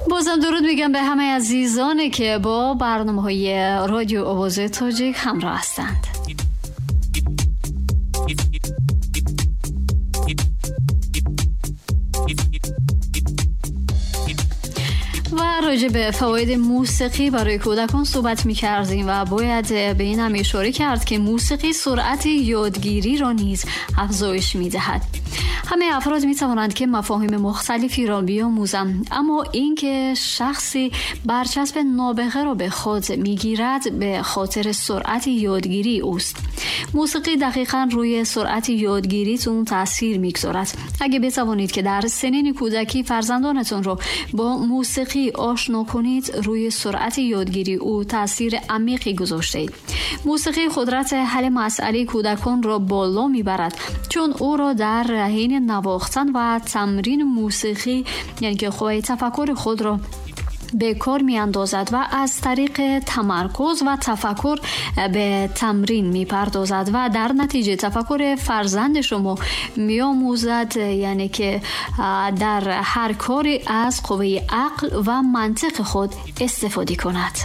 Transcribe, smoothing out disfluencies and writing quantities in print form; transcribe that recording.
Бозам дуруд мегам ба ҳамаи азизоне, ки бо барномаҳои Радиои Овози Тоҷик ҳамроҳ ҳастанд. و راجع به فواید موسیقی برای کودکان صحبت می‌کردیم و باید به این هم اشاره کرد که موسیقی سرعت یادگیری را نیز افزایش می‌دهد. همه افراد می‌توانند که مفاهیم مختلفی را بیاموزند، اما اینکه شخصی برچسب نابغه را به خود می‌گیرد به خاطر سرعت یادگیری اوست. موسیقی دقیقاً روی سرعت یادگیریتون تاثیر می‌گذارد. اگه بتوانید که در سنین کودکی فرزندانتون رو با موسیقی آشنا کنید، روی سرعت یادگیری او تاثیر عمیقی گذاشته اید. موسیقی قدرت حل مسئله کودکان را بالا می‌برد، چون او را در حین نواختن و تمرین موسیقی، یعنی که قوه تفکر خود را به کار می‌اندازد و از طریق تمرکز و تفکر به تمرین می‌پردازد و در نتیجه تفکر فرزند شما می‌آموزد، یعنی که در هر کاری از قوه عقل و منطق خود استفاده کند.